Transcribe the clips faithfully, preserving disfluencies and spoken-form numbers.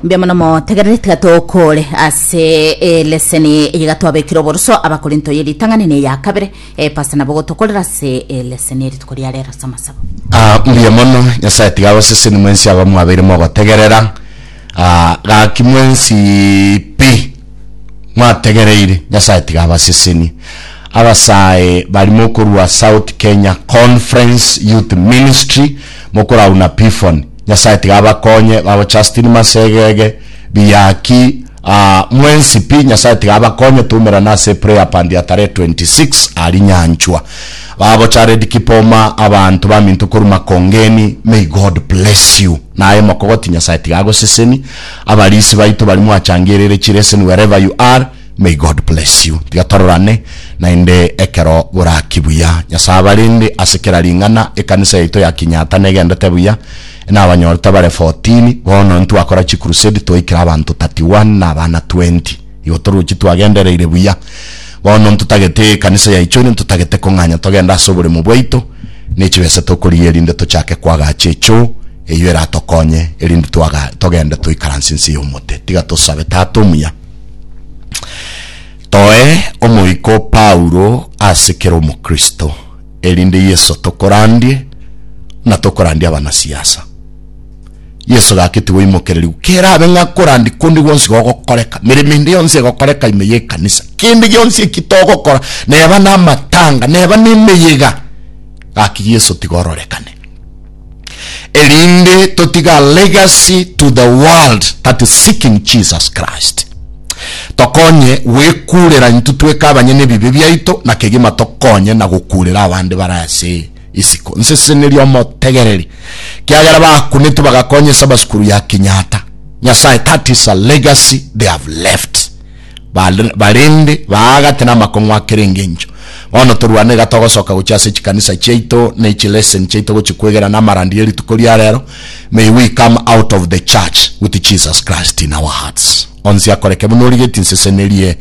Mbuya mono motegerere, tiga tokore ase eleseni iga twabekire oboruso abakorinto ye ritang'ani ne ya kabere. eh, pastor nabo gotokorera ase eleseni erituko ria rero ase amasabo. Ah, mbuya mono. Nyasaye tiga abaseseni mwensi aba mwabeire mogotegerera. Ah, gaki mwensi pi mwategereire, Nyasaye tiga abaseseni. Abasae bari mokorwa South Kenya Conference Youth Ministry, mokorauna Pifon, Nyasaye tiga abakonye. Babo Justin Masegege Biyaki, uh, mwensi pi Nyasaye tiga abakonye. Tumerana ase prayer pandi ya tarehe twenty-six ari Nyanchwa. Babo Jared Kipoma, abantu baminto koruma Kongeni, may God bless you. Naye mokogoti, Nyasaye tiga agoseseni. Abarisi baito bari mwachangirire chireseni, wherever you are, may God bless you. Tiga tororane naende ekero boraki buya. Nyasaye abarinde ase kera ring'ana. Ekanisa yaito ya Kinyata negendete buya, nabanyorete bare fourteen. Bono ntwakora chicrusade, twaikera abanto thirty-one na abana twenty. Igo toruchi twagendereire buya. Bono ntotagete ekanisa yaicho, ntotagete kong'anya togenda ase oboremo bwaito nechibesa tokoria, erinde tochake kwagacha echo eyo eratokonye, erinde twaga togende toikaranse nse y'omote. Tiga tosabe. Tata omuya, toe omoiko Paulo ase kera omokristo, erinde Yeso tokorandie na tokorandia abanasiasa. Yeso gaketi goimokereriwa kerabe ng'a korandi kundi gwonsi gogokoreka, mirimo ende yonsi egokoreka ime y'ekanisa, kende gionsi eki togokora, neba na amatanga, neba na emeyega, gaki Yeso tigororekane, erinde totiga legacy to the world that is seeking Jesus Christ. Tokonye gwekurera intwe tweka abanyene ebibe biaito na kegima, tokonye na gokurera abande bare ase isiko. Nseseneria omotegereri kiagera bakunete bagakonya esabasukuru ya Kenyatta. Nyasaye, that is a legacy they have left. Bal- barende baagate na makong'u akere engencho. Bono torwane iga togosoka gochia ase chikanisa chiaito na echilesson chiaito gochikwegera na amarandi ya rituko ria rero. May we come out of the church with Jesus Christ in our hearts. Onsi akoreke buna origeti. Nsesenerie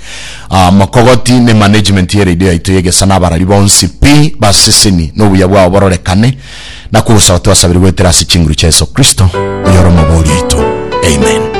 uh, mokogoti ne management ye radio yaito yegesa na abarari bonsi pi baseseni n'obuya bwabo bororekane, na kugusaba twasabire gwetera ase chinguru chia Yesu Kristo oyoro omobori oito, amen.